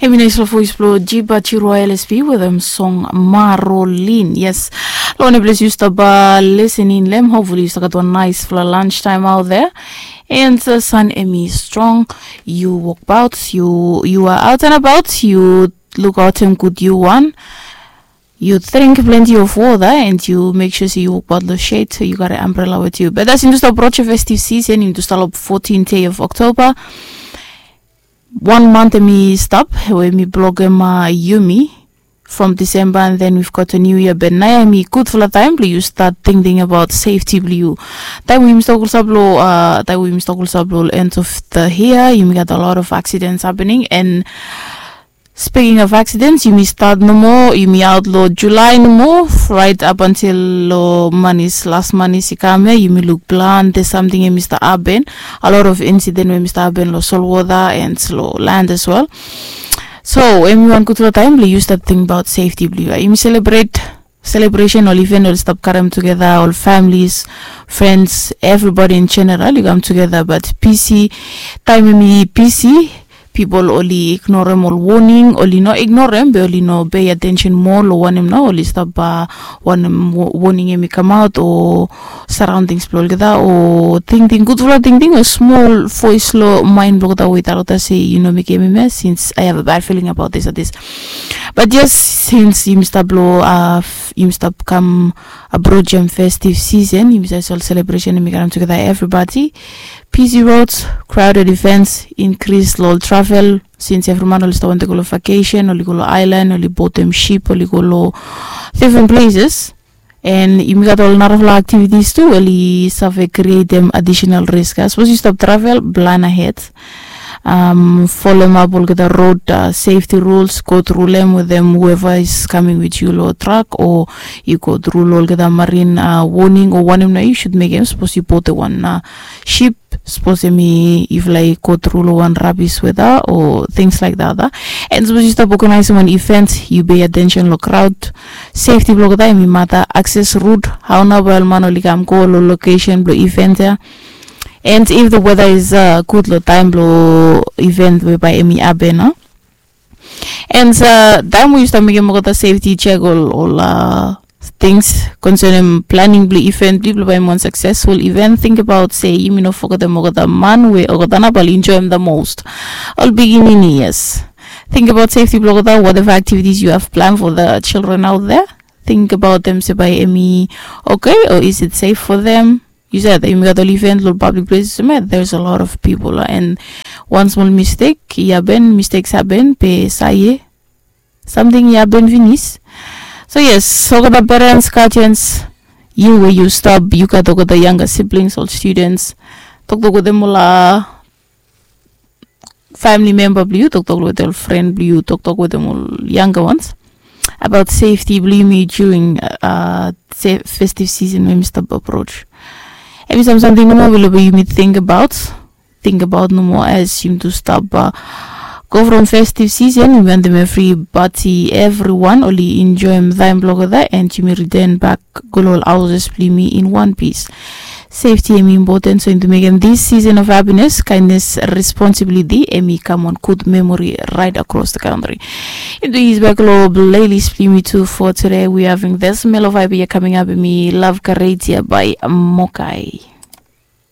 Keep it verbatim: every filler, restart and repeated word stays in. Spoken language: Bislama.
Hemi nais long voice blong Jiba Jiroa L S P wetem song Marolin. Yes. Long wanem ples yu stap uh, listening lem, hopefully yu stap gat one nice fla lunch time out there. And the sun emi strong. You walk about, you you are out and about, you look out him good you one. You drink plenty of water and you make sure say you walk about the shade, so you got an umbrella with you. But as you stop approach festive season, you start up fourteenth day of October. One month emi stap, we mi blogem uh, yumi from December, and then we've got a new year. But naya emi good for the time blong yu start thinking about safety blong yu. Time we yu start also blow, uh, time we yu start also blow end of the year, you got a lot of accidents happening. And speaking of accidents, yumi start nomo, yumi out lo July nomo, right up until lo manis, last manis i kam ya, yumi look plan, there's something emi start happen. A lot of incident emi start happen lo salt water and lo land as well. So emi wan good lo time blong yu start think about safety blong yu. Yumi celebrate celebration, ol event, ol stap karem together, ol families, friends, everybody in general, you come together, but busy, time emi busy, people oli ignorem ol warning, oli no ignorem, be oli no pay attention more lo wanem na oli stap uh, wanem wa- warning emi come out o surroundings blong olgeta o tingting gudfala tingting o small voice lo mind blong olgeta we i talgeta se you no mekem emi ya since I have a bad feeling about this and this. But yes, since yumi stap lo uh, yumi stap kam approach em festive season, yumi start sol celebration emi karem together everybody. Busy roads, crowded events, increase lo travel, since every man oli start want to go lo vacation, oli go lo island, oli boat em ship, oli go lo different places. And yumi gat ol narafala activities tu oli save create em additional risk. As suppose you stop travel, plan ahead. Um, follow up olgeta road uh, safety rules, go through them with them, whoever is coming with you lo truck, or you go through lo olgeta marine uh, warning o wanem na you should make em suppose you boat one uh, ship, suppose emi if like go through lo one rubbish weather or things like that uh. And suppose you stop organizing one event, you pay attention lo crowd, safety blong olgeta emi mata, access route, how na bae ol man oli kam go lo location blong event ya. And if the weather is uh, good lo time blong event whereby emi happen uh. And uh, time we you start mekem olgeta safety check ol ol uh, things concerning planning blong event blong yu blong bae emi wan successful event, think about se yumi no fogetem olgeta man we olgeta na bae oli enjoy em the most. Ol pikinini, yes. Think about safety blong olgeta, whatever activities you have planned for the children out there. Think about them se bae emi okay or is it safe for them? You said that yumi gat ol event lo public places, man, there's a lot of people uh, and one small mistake i happen, mistakes happen, pe saye something i happen finis. So yes, olgeta parents, guardians, you we you stop, you gat olgeta younger siblings, ol students, toktok wetem ol uh, family member blong yu, toktok wetem ol friend blong yu, toktok wetem ol younger ones about safety blong yumi during uh, se- festive season we emi stap approach. Emi sam samting nomo we lo bae yumi think about, think about nomo as yumi tu stap uh, go from festive season, yumi wantem everybody, everyone oli enjoy em time blong olgeta and yumi return back go lo ol houses blong yumi in one piece. Safety emi important, so yumi tu mekem this season of happiness, kindness, responsibility emi kam on good memory right across the country. Yumi tu is back lo playlist blong yumi tu for today. We having this Mellow Vibe ya coming up, emi Love Karatia by Mokai.